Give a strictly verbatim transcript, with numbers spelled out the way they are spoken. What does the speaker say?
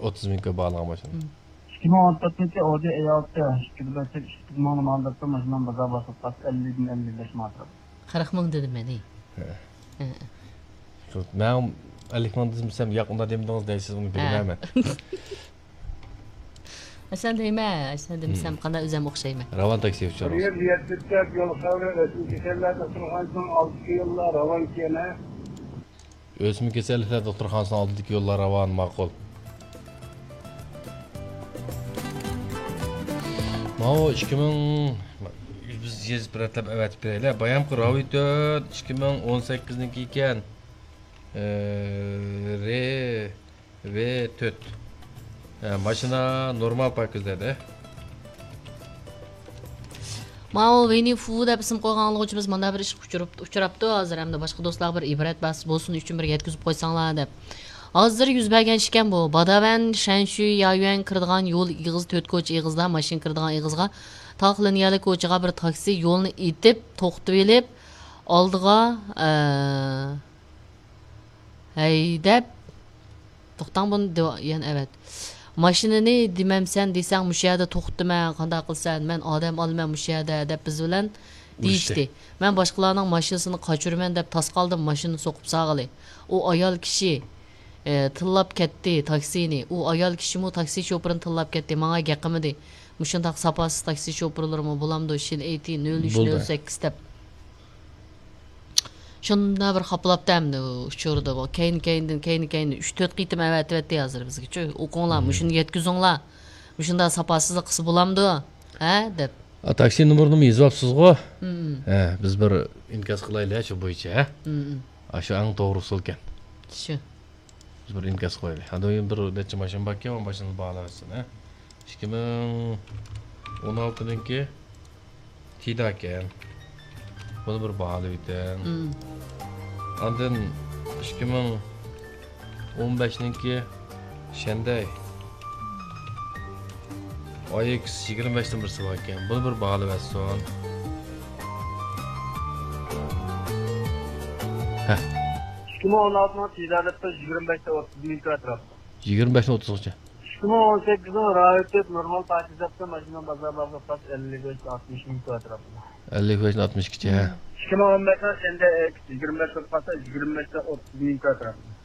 ئوتتۇز مىڭ كۆپ باھالىغان ماشىنا. ئىككى مىڭ ئون تۆتىنچى ئودى ئەي ئالتە، ئىككى بەش، ئىككى مىڭنى ماڭدۇرۇپتۇ، ماشىنام بازار باسقاچ ئەللىدىن ئەللىك بەش ماڭا تۇرۇپتۇ. قىرىق مىڭ دېدىم مەن. ھە. ھە. مەن ئەللىك مىڭ دېسەم، ياق، ئۇنداق دېمىدىڭىز دەيسىز، ئۇنى بىلمەيمەن. ئەسەن دەيمەن، ئەسەن دېمىسەم، قانداق ئۆزۈم ئوخشايمەن. راۋان تاكسى ئۇچۇرىمىز. يەتمىش تۆت يول خەۋىرى، ئۆسمە كېسەللەر دوختۇرخانىسىنىڭ ئالدىدىكى يوللار راۋان كېنە. ئۆسمە كېسەللىكلەر دوختۇرخانىسىنىڭ ئالدىدىكى يوللار راۋان، ماقۇل. ماۋۇ ئىككى مىڭ، بىز يېزىپ رەتلەپ ئەۋەتىپ بېرەيلى. بايامقى راۋى تۆت، ئىككى مىڭ ئون سەككىزنىڭكى ئىكەن. ئە، رې، ۋې تۆت. ئە، ماشىنا نورمال پاكىزلەردە. ماۋۇ ۋىننى فۇ دەپ ئىسىم قويغان ئاڭلىغۇچىمىز مانا بىر ئىشقا ئۇچۇرۇپ-، ئۇچراپتۇ. ھازىر ھەمدە باشقا دوستلارغا بىر ئىبرەت بولسۇن ئۈچۈن بىر يەتكۈزۈپ قويساڭلار دەپ. ھازىر يۈز بەرگەن ئىش ئىكەن بۇ. باداۋەن، شەنشۈي، يايۈەن كىرىدىغان يول ئېغىزى، تۆت كوچا ئېغىزىدا، ماشىنا كىرىدىغان ئېغىزغا، تاق لىنىيەلىك كوچىغا بىر تاكسى يولنى ئېتىپ، توختىتىۋېلىپ، ئالدىغا، ئە، ھەيدەپ، توختاڭ، بۇنى دېۋا-، يەنە ئەۋەت. ماشىنىنى دېمەمسەن دېسەڭ، مۇشۇ يەردە توختىتىمەن، قانداق قىلىسەن؟ مەن ئادەم ئالىمەن مۇشۇ يەردە، دەپ بىز بىلەن دېيىشتى. مەن باشقىلارنىڭ ماشىنىسىنى قاچۇرىمەن دەپ تاس قالدىم، ماشىنىنى سوقۇپ سالغىلى. ئۇ ئايال كىشى، ئە، تىللاپ كەتتى تاكسىنى. ئۇ ئايال كىشىمۇ تاكسى شوپۇرىنى تىللاپ كەتتى، ماڭا گەپ قىلمىدى. مۇشۇنداق ساپاسىز تاكسى شوپۇرلىرىمۇ بولامدۇ؟ شىن ئېيتى نۆل ئۈچ نۆل سەككىز دەپ. شۇنداق بىر خاپىلاپتۇ ئەمدى ئۇ ئۇچۇردا بۇ. كەينى-كەينىدىن، كەينى-كەينىدىن ئۈچ تۆت قېتىم ئەۋەتىۋەتتى ھازىر بىزگىچۇ. ئوقۇڭلار، مۇشۇنى يەتكۈزۈڭلار. مۇشۇنداق ساپاسىزلىق قىلسا بولامدۇ؟ ھە؟ دەپ. ئا، تاكسى نومۇرىنىمۇ يېزىۋاپسىزغۇ؟ ھە، بىز بىر ئىنكاس قىلايلى شۇ بويىچە، ھە؟ ئاشۇ ئەڭ توغرا ئۇسۇلكەن. شۇ. بىز بىر ئىنكاس قويايلى. ئاندىن كېيىن بىر نەچچە ماشىنا باركەن، ئۇ ماشىنىنى باھالاۋەتسۇن، ھە؟ ئىككى مىڭ ئون ئالتىنىڭكى تىداكەن. بۇنى بىر باھالاۋېتىڭ. ئاندىن ئىككى مىڭ ئون بەشنىڭكى شەندەي. ئاي ئېكس يىگىرمە بەشتىن بىرسى باركەن. بۇنى بىر باھالاۋەتسۇن. ھە. ئىككى مىڭ ئون ئالتىنىڭ تىدادىپتۇ، يىگىرمە بەشتە ئوتتۇز مىڭ كىلو ئەتراپىدا. يىگىرمە بەشتىن ئوتتۇزغىچە. ئىككى مىڭ ئون سەككىزنىڭ راۋىتى نورمال پاكىزەپتۇ، ماشىنا بازار باھاسى ئەللىك بەش ئاتمىش مىڭ كىلو ئەتراپىدا. ئەللىك بەشتىن ئاتمىش ئىككىچە، ھە. ئىككى مىڭ ئون بەشنىڭ شەندەي ئېكس يىگىرمە بەش بولۇپ قالسا، يىگىرمە بەشتە ئوتتۇز مىڭ كىلو ئەتراپىدا.